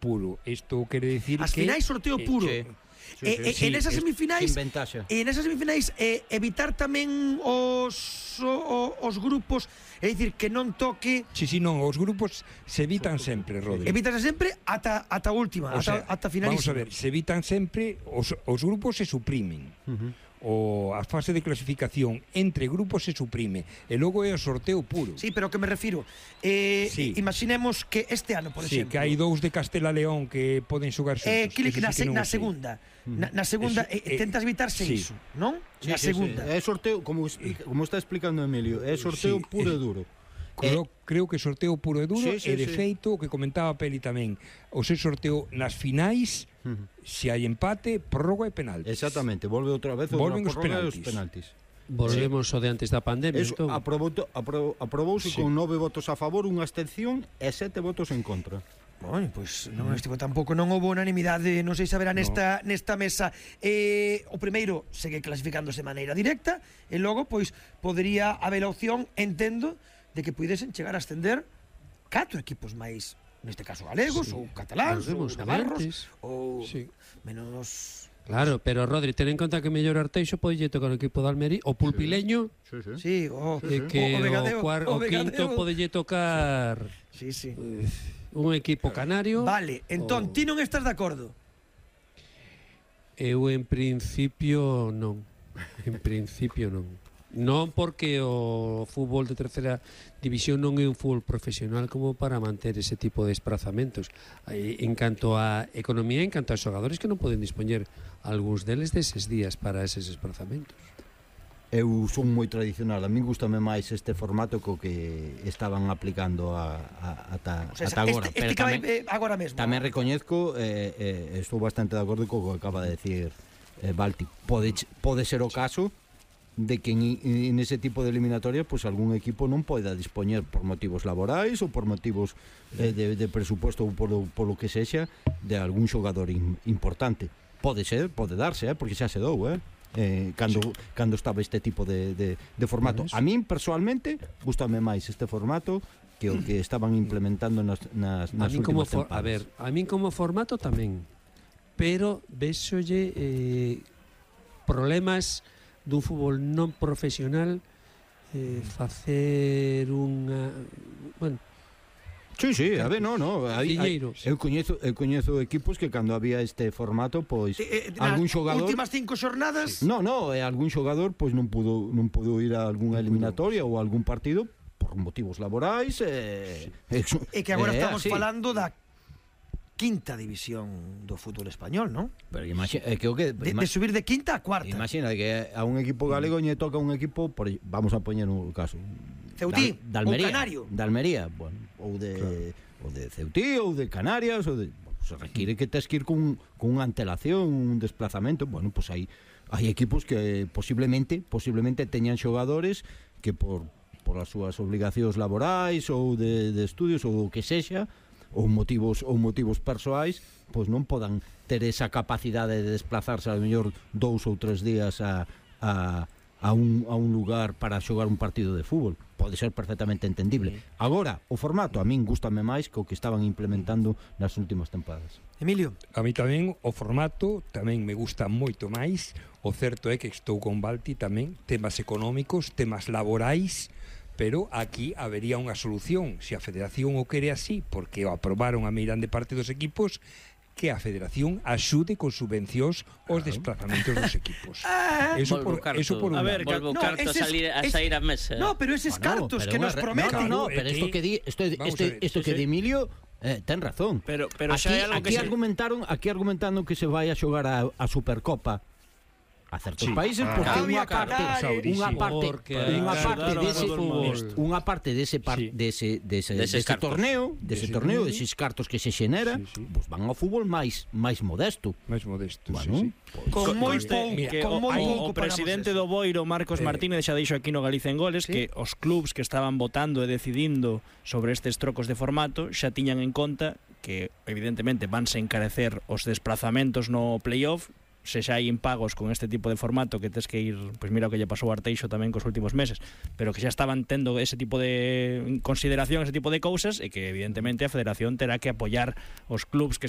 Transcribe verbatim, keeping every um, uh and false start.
puro. Isto quere dicir as que... As finais sorteo puro. Eh, sí. E, e, sí, en esas semifinais en esas semifinais eh, evitar tamén os o, os grupos, é dicir, que non toque. Si, si, non, os grupos se evitan sempre, Rodri. Evitanse sempre ata ata última, o ata sea, ata finalísima. Vamos a ver, se evitan sempre, os, os grupos se suprimen. Uh-huh. O a fase de clasificación entre grupos se suprime e logo é o sorteo puro. Sí, pero que me refiro eh, sí. Imaginemos que este ano, por sí, exemplo, que hai dous de Castela León que poden xogar xuntos. Eh, que na, sí que na segunda na, na segunda eso, eh, tentas evitarse sí. iso, non? Sí, na sí, segunda sí. É sorteo, como, explica, como está explicando Emilio, é sorteo sí, puro e duro. Creo, eh, creo que sorteo puro e duro sí, sí, e de sí. feito o que comentaba Peli tamén, o se sorteo nas finais, uh-huh. se hai empate, prórroga e penaltis. Exactamente, volve outra vez volven outra os penaltis. Os penaltis. Volvemos sí. o de antes da pandemia. Eso, entón. aprobou, aprobou, aprobouse sí. con nove votos a favor, unha abstención e sete votos en contra. Bueno, pois pues, non estivo tampouco non houve unanimidade, non sei se haberá nesta no. nesta mesa. Eh, o primeiro segue clasificándose de maneira directa e logo pois podería haber a opción, entendo, de que puidesen chegar a ascender catro equipos máis, neste caso galegos, sí. ou cataláns, ou navarros, ou sí. menos... Claro, pero Rodri, ten en conta que mellor Arteixo pode tocar o equipo de Almería, o Pulpileño, sí, sí, sí. o, e que o, o, Vegadeo, o, cuar, o, o quinto pode tocar sí, sí. Uh, un equipo canario. Vale, entón, o... ti non estás de acordo? Eu en principio non. En principio non. Non porque o fútbol de terceira división non é un fútbol profesional como para manter ese tipo de desplazamentos. En canto a economía, en canto a xogadores que non poden dispoñer algúns deles deses días para eses desplazamentos. Eu son moi tradicional, a min gustame máis este formato co que estaban aplicando a, a, ata, o sea, ata agora. Este, este pero tamén, eh, agora mesmo. Tamén recoñezco, eh, eh, estou bastante de acordo co que acaba de decir eh, Balti. Pode, pode ser o caso de que en, en ese tipo de eliminatoria pues algún equipo non poida dispoñer por motivos laborais ou por motivos eh, de, de presupuesto ou por, por lo que sexa de algún xogador in, importante. Pode ser, pode darse, eh, porque xa se dou, eh? Eh, cando, sí. cando estaba este tipo de, de, de formato. A min, persoalmente, gustame máis este formato que o que estaban implementando nas, nas, nas últimas for, tempadas. A ver, a min como formato tamén, pero véxolle eh, problemas dun fútbol non profesional eh, facer unha... Bueno, sí, sí, a ver, no, no hai, hai, eu, coñezo, eu coñezo equipos que cando había este formato pois eh, eh, algún xogador... últimas cinco xornadas... Sí. No, no, eh, algún xogador pois non pudo, non pudo ir a algunha eliminatoria ou a algún partido por motivos laborais eh, sí. E que agora eh, estamos así. falando da quinta división do fútbol español, non? Pero imagina, é que o que de, de subir de quinta a cuarta. Imagina que a un equipo galego lle toca un equipo, por, vamos a poñer un caso. Ceutí, da, da Almería, ou Canario. Da Almería, bueno, ou de claro. ou de Ceutí ou de Canarias, ou de, bueno, se requiere que tes que ir con con unha antelación, un desplazamento, bueno, pues hai hai equipos que posiblemente, posiblemente teñan xogadores que por por as súas obligacións laborais ou de, de estudios ou o que sexa, ou motivos ou motivos persoais, pois non podan ter esa capacidade de desplazarse a mellor dous ou tres días a, a, a, un, a un lugar para xogar un partido de fútbol. Pode ser perfectamente entendible. Agora, o formato a min gústame máis que o que estaban implementando nas últimas tempadas. Emilio? A mí tamén o formato tamén me gusta moito máis. O certo é que estou con Balti tamén, temas económicos, temas laborais, pero aquí habería unha solución. Se a Federación o quere así, porque o aprobaron a meirande parte dos equipos, que a Federación axude con subvencións os desplazamentos dos equipos. Eso por, eso por a ver, volvo no, carto a salir a sair a mesa. No, pero eses bueno, cartos pero que nos prometen. No, no, pero isto que di, isto isto isto que di Emilio Eh, ten razón. Pero pero aquí, xa hai algo aquí que argumentaron, se... aquí argumentando que se vai a xogar a, a Supercopa a certos sí. países porque ah, unha parte, unha parte, unha parte dese unha parte dese par, sí. dese dese dese torneo, dese torneo, deses cartos que se xenera, sí, sí. Pues van ao fútbol máis máis modesto, máis modesto, bueno, sí, sí. Con moi pouco, con moi pouco. O presidente do Boiro, Marcos Martínez, xa dixo aquí no Galicia en Goles que os clubs que estaban votando e decidindo sobre estes trocos de formato xa tiñan en conta que evidentemente vanse encarecer os desplazamentos no playoff, se xa hai impagos con este tipo de formato que tes que ir, pois mira o que lle pasou a Arteixo tamén cos últimos meses, pero que xa estaban tendo ese tipo de consideración, ese tipo de cousas, e que evidentemente a Federación terá que apoiar os clubs que se